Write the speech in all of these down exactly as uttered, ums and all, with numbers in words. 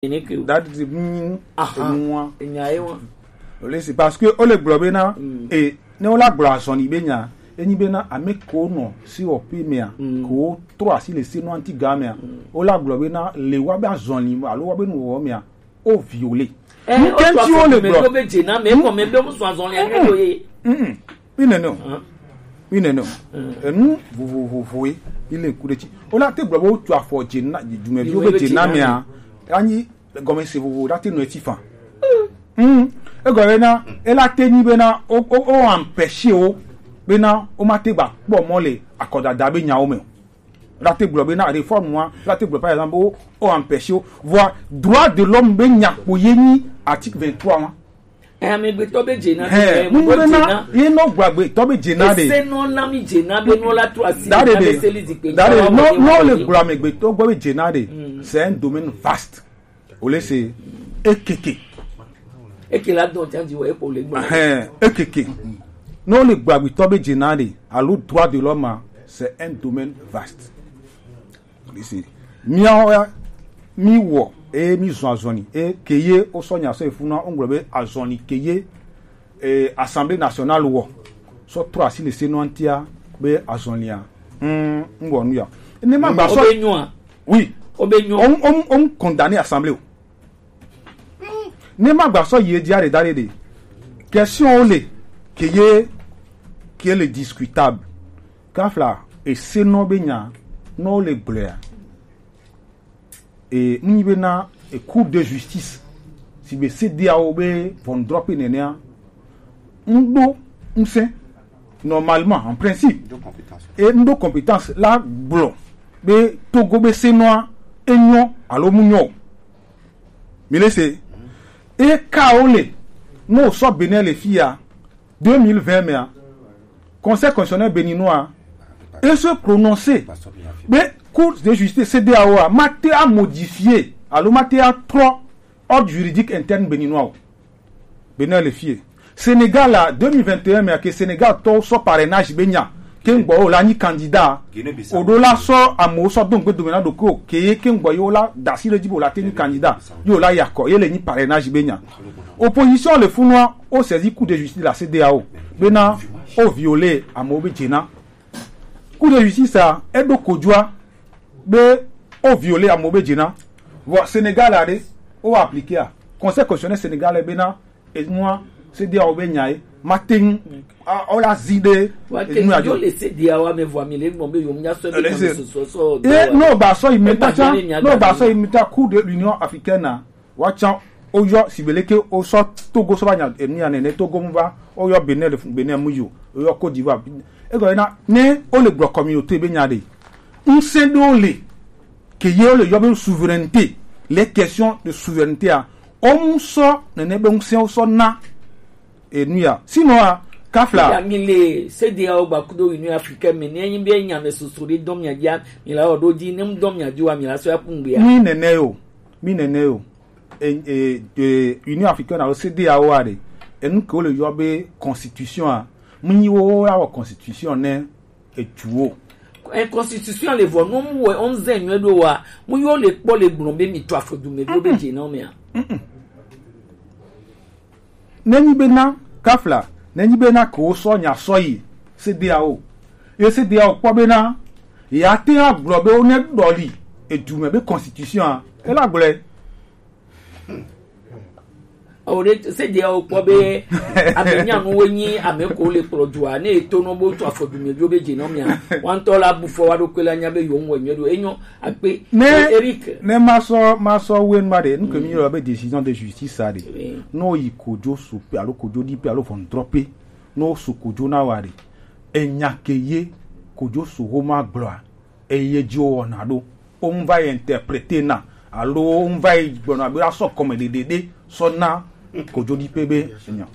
Ene ke o. That is mean. Aha. Enua. Enya ye wa. Ole si, parce que ole gblɔ bena, mm, e ne wola gblɔ azɔli be nya, enyi bena ame ko nɔ si wɔ pe mea, mm, ko trɔ asi le se nɔ anti ga mea, mm, wola gblɔ bena le wa be azɔli alo wa be nu wɔ mea, o viole. Eh, nu ke nti wo le gblɔ be dze na me ko me be mu sɔn azɔli ame do ye. Mm. Mi nene o. Hã? Mi nene o. Mm. Enu vovovovoe mi le ku ɖe dzi. Wola te gblɔ be wotu afɔ dze na dumeviwo be dze na mea, anyi gɔmese vovo la te nɔ eti fan. Mm. Egɔme na ela te nyi bena o o o empêcher wo bena wo ma te gba kpɔ mɔ le akɔdada be nyawo me o. La te gblɔ bena réforme wa, la te gblɔ par exemple o o empêcher wo. Vɔa droit de l'homme be nya kpo ye nyi article vingt-trois wa. Amegbetɔ be dze na. Hɛn, mu bena ye nɔ gba amegbetɔ be dze na ɖe. Ese nɔ na mi dze na be nɔ la trɔ asi da ɖe ɖe. Da ɖe nɔ nɔ le gblɔ amegbetɔ gbɔ be dze na ɖe. Mm. C'est un domaine vaste. O le se ekeke. Eke la dɔn tsa di wɔ epo le gblɔ. Hɛn, ekeke. Nɔ le gblɔ amegbetɔ be dze na ɖe alo droit de l'homme, c'est un domaine vaste. Listen. Miawo ya, mi wɔ, eye mi zɔn azɔli, eye ke ye wo sɔ nya sɔ efuna, wo gblɔ be azɔli ke ye, eh, Assemblée nationale wɔ, sɔ trɔ asi le se nɔ antia be azɔlia. Mm, n wɔ nu ya. Ne ma gba sɔ. Obe nyua. Oui. Obe nyua. On, on, on condamne assemblée o. Ne ma gba sɔ yi edzi aɖe da ɖe ɖe. Question wo le ke ye ke le discutable. Kafla ese nɔ be nya nɔ le gblɔa. E nyi be na e Cour de justice si be C D A O be ʋɔnudrɔƒe nenea. Ŋɖo ŋsẽ normalement en principe. E ŋɖo compétence la gblɔ be Togo be se nɔa enyɔ alo mu nyɔ o. Mi le se. E ka wo le, no sɔ Benin le fia, deux mille vingt mea, Conseil constitutionnel béninois e se prononcer be Cour de justice C D A O a ma te a modifier alo ma te a trɔ ordre juridique interne béninois o. Benin le fie. Sénégal la deux mille vingt et un mea ke Sénégal tɔwo sɔ parrainage be nya. Ke ŋgbɔ wo la nyi candidat. O ɖo la sɔ amewo sɔ do ŋgbe dome na ɖokui o. Ke ye ke ŋgbɔ ye wo la da asi le dzi be wo la te nyi candidat. Ye wo la yakɔ ye le nyi parrainage be nya. Opposition le funua o saisi Cour de justice la C D A O. Bena o violer amewo be dze na. Cour de justice a eɖo kodzoa be o violer amewo be dze na. Vɔ Sénégal a ɖe o appliquer a. Conseil constitutionnel Sénégal bena enua C D A O be nya ye ma te ŋu a o la zi ɖe. Wa ke enu yo adzo le C D A O me vɔ mi le gbɔn be yo nya sɔ be. Ele se. Sɔ sɔ e no ba sɔ yi meta tsa no ba sɔ yi meta Cour de l'Union africaine a. Wa tsa o yɔ si be leke o sɔ Togo sɔ ba nya enu ya nene Togo mu ba o yɔ Benin le fun Benin mu yo o yɔ Côte d'Ivoire. E gɔ na ne o le gblɔ communauté be nya ɖe. Ŋsẽ ɖewo le ke ye wo le yɔ be souveraineté, les questions de souveraineté a, wo mu sɔ nene be ŋsẽ wo sɔ na enu ya. Sinon a, kafla. Ya mi le C D A O gba kudo Union africaine me ne nyi be nya me soso ɖe dɔn mia dia mi la o ɖo di ne mu dɔn mia di wa mi la sɔ ya ku ŋgbe ya. Mi nene yo, mi nene yo. E, e, e, Union africaine alo C D A O a ɖe, enu ke wo le yɔ be constitution a, mu nyi wo ya wɔ constitution ne etu wo. E constitution le vɔ no mu wɔ on zen nyuie ɖo wa mu yo le kpɔ le gblɔ be mi to afɔ du me ɖo be dze na me a. Ne nyi be na kafla ne nyi be na ke wo sɔ nya sɔ yi C D A O ye C D A O kpɔ be na ya te agblɔ be wo ne ɖɔli edu me be constitution a e la gblɔe. O ɖe se de o kpɔ be ame nyanuwo nyi ame ko le kplɔ dua ne eto nɔ bo to afɔ dume dzo be dze nɔ mia wantɔ la bu fɔ wa ɖo kpe la nya be yo ŋwɛ nyuie ɖo enyo akpe. Ne Eric ne ma sɔ ma sɔ wenu ma ɖe nu ke mi yɔ be décision de justice sa ɖe. Oui. No yi kodzo su pe alo kodzo di pe alo ʋɔnudrɔƒe no su kodzo na wa ɖe enya ke ye kodzo su ho ma gblɔa eye dzi wowɔna ɖo. Wo ŋu va yi interprete na alo wo ŋu va yi gblɔna be asɔ kɔme ɖeɖe ɖe sɔ na kodzodiƒe be enya.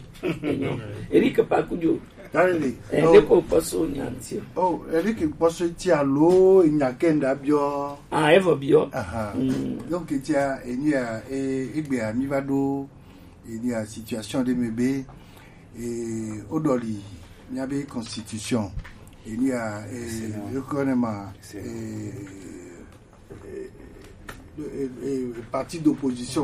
Eric Pakujo. Dale. Eh, oh. Leko kpɔso nya ŋuti. Oh, Eric kpɔso ŋuti alo enya ke ŋda biɔ. Ah, evo biɔ. Aha. Mm. Donc tia enia e egbea mi va ɖo enia situation ɖe me be e o ɖɔli mia be constitution enia e yokɔ ne ma e e eh, eh, parti d'opposition.